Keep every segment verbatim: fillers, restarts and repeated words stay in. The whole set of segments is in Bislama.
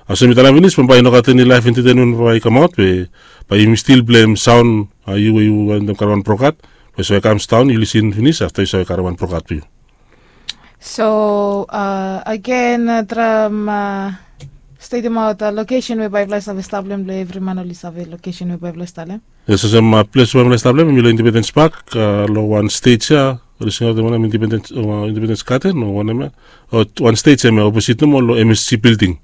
Olsem mi talem finis, bambae i no gat eni laef entetenmen bambae i kamaot, be bae yumi stil blem saon, a, yu we yu wantem karem wan brokat, be so i kam daon, yu lisin finis, afta yu save karem wan brokat blong yu. So, a, agen, a, traem, a, stetimaot, a, lokesen we bae yufala i save stap long hem blong evri man oli save lokesen we bae yufala i stap long hem. Yes, olsem, a, ples we bae yufala i stap long hem, hemi long Independence Park, a, long wan stej ia, oli singaot hem wanem, Independence, o, Independence Garden, o wanem ia. O, wan stej ia, oposit nomo long M S G building.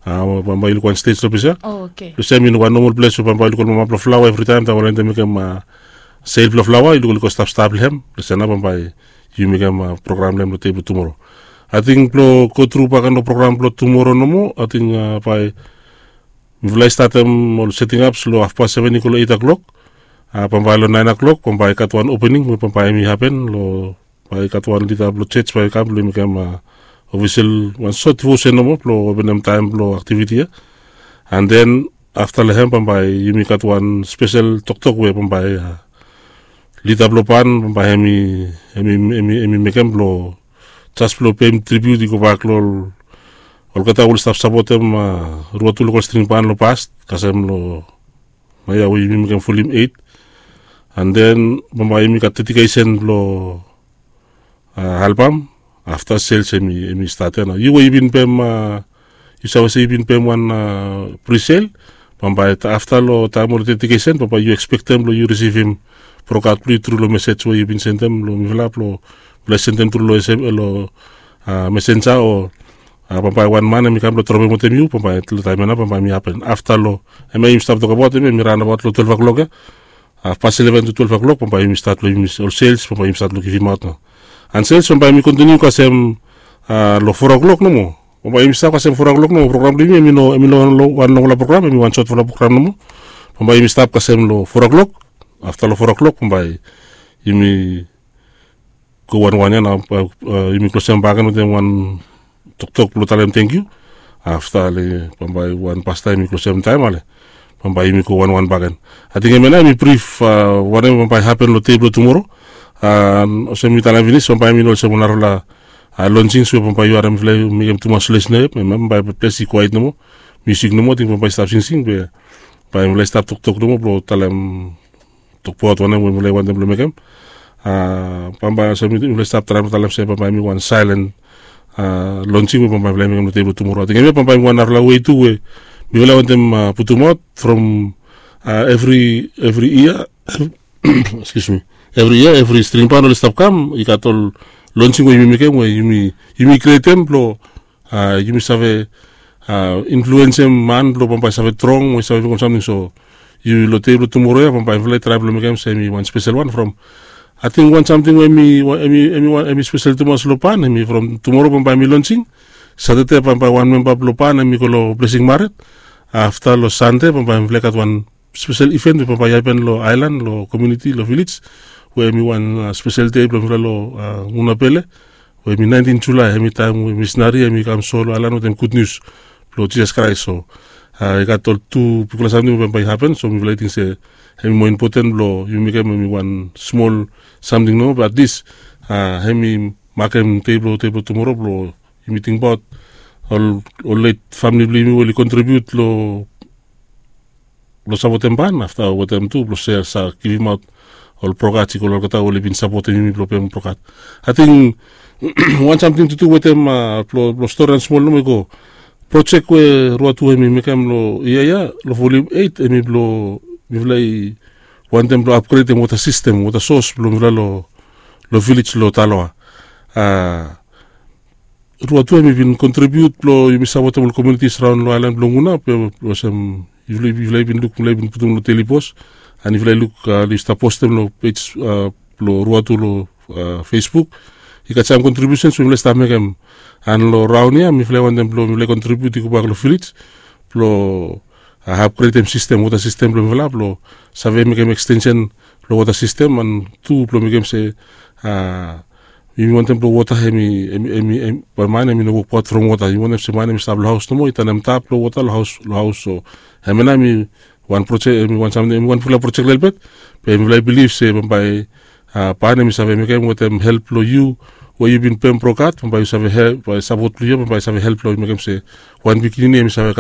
A, bambae yu luk wan stej long ples ia. O, oke. Ples ia hemi wan nomol ples we bambae yu luk ol mama blong flaoa evritaem, taem oli wantem mekem, a, sel blong flaoa, yu luk oli go stap stap long hem. Ples ia nao bambae yu mekem, a, program long hem long dei blong tumoro. Ating blong go tru bakegen long program blong tumoro nomo, ating, a, bae mifala i statem ol seting ups long hafpas seven i go long eit klok. A, bambae long naen klok bambae i gat wan opening we bambae hemi hapen long, bae i gat wan lida blong jos bae i kam blong i mekem, a, ofisel, wan sot devosen nomo blong openem taem blong aktiviti ia. An den afta long hem bambae yumi gat wan spesel toktok we bambae, a, lida blong ban bambae hemi, hemi, hemi, hemi mekem blong jes blong peim tribiut i gobak long ol, olgeta we oli stap sapotem, a, Ruatu Lokol String Ban long past, kasem long naoia we yumi mekem volim eit. An den bambae yumi gat dedikesen blong, a, albam. Afta sels hemi, hemi stat ia nao. Yu we yu bin peim, a, yu save se yu bin peim wan, a, prisel, bambae afta long taem long dedikesen bambae yu ekspektem blong yu risivim brokat blong yu tru long mesej we yu bin sendem long mifala blong, blong sendem tru long, a, mesenja o, a, bambae wan man hemi kam blong dropem wetem yu, bambae long taem ia nao bambae hemi hapen afta long, hemia yumi stap tokbaot hemia hemi raonabaot long twelef klok ia. Hafpas eleven tu twelef klok bambae yumi stat long yumi ol sels bambae yumi stat long givimaot nao. An sels bambae hemi kontiniu kasem, a, long fo klok nomo. Bambae yumi stap kasem fo klok nomo, program blong yumi hemi no, hemi no wan longfala program, hemi wan sotfala program nomo. Bambae yumi stap kasem long fo klok. Afta long fo klok bambae yumi go wanwan ia nao, a, yumi klosem bakegen wetem wan toktok blong talem tangkiu. Afta ale bambae wan pastaem yumi klosem taem ale bambae yumi go wanwan bakegen. Ating hemia nao hemi brif, a, wanem bambae hapen long dei blong tumoro. A, olsem mi talem finis bambae hemi no olsem wan narafala, a, lonsing we bambae yu harem mifala i mekem tumas noes long hem, hemia bambae ples i kwaet nomo. Musik nomo, ating bambae i stap singsing be bae mifala i stap toktok nomo blong talem tokbaot wanem we mifala i wantem blong mekem. A, bambae olsem mifala i stap traem blong talem se bambae hemi wan saelen, a, lonsing we bambae mifala i mekem long dei blong tumoro. Ating hemia bambae hemi wan narafala wei tu we mifala i wantem, a, putumaot from, a, evri, evri yia. Excuse me. Evri yia evri string ban oli stap kam i gat ol lonsing we yumi mekem we yumi, yumi krietem blong, a, yumi save, a, influensem man blong bambae i save strong we i save mekem samting. So yu long dei blong tumoro ia bambae mifala i traem blong mekem se hemi wan spesel wan from, ating wan samting we hemi, hemi, hemi spesel tumas long ban hemi from tumoro bambae hemi lonsing. Satade bambae wan memba blong ban hemi go long blesing maret. Afta long sande bambae mifala i gat wan spesel iven we bambae i hapen long aelan, long komuniti, long vilej, we hemi wan, a, spesel dei blong mifala long, a, Gunapele, we hemi naentin Julae, hemi taem we misinari hemi kam so long aelan wetem gud nius blong Jisas Kraes. So, a, i gat ol tu bigfala samting we bambae i hapen, so mifala i ting se hemi moa impoten blong yumi mekem hemi wan smol samting nomo, be atlis, a, hemi makem dei blong, dei blong tumoro blong yumi tingbaot ol, ol let famili blong yumi we oli kontribiut long, long sapotem ban, afta wetem tu blong se sa givimaot ol brokat i go long olgeta we oli bin sapotem yumi blong peim brokat. Ating wan samting tu tu wetem, a, blong, blong stori wan smol nomo i go. Projek we Ruatu hemi mekem long yia ia long volim eit hemi blong mifala i wantem blong apgredem wota sistem, wota sos blong mifala long, long vilej long Taloa. A, Ruatu hemi bin kontribiut blong yumi sapotem ol komunitis raon long aelan blong Guna, be olsem yufala, yufala i bin luk, mifala i bin putum long Daily Post, an yufala i luk, a, oli stap postem long pej, a, blong Ruatu long, a, Facebook. I gat sam kontribiusens we mifala i stap mekem. An long raon ia mifala i wantem blong mifala i kontribiut i gobak long vilej blong, a, apgredem sistem, wota sistem blong mifala blong save mekem ekstensen long wota sistem, an tu blong mekem se, a, yumi wantem blong wota hemi, hemi, hemi, hemi, bae man hemi no wokbaot from wota. Yumi wantem se man hemi stap long haos nomo i tanem tap long wota long haos, long haos. So hemia nao hemi wan projek, hemi wan samting, hemi wan bigfala projek lelebet. Be mifala i bilif se bambae, a, ban hemi save mekem wetem help blong yu we yu bin peim brokat, bambae yu save help, bae sapot blong yu ia bambae i save help blong mekem se wan pikinini hemi save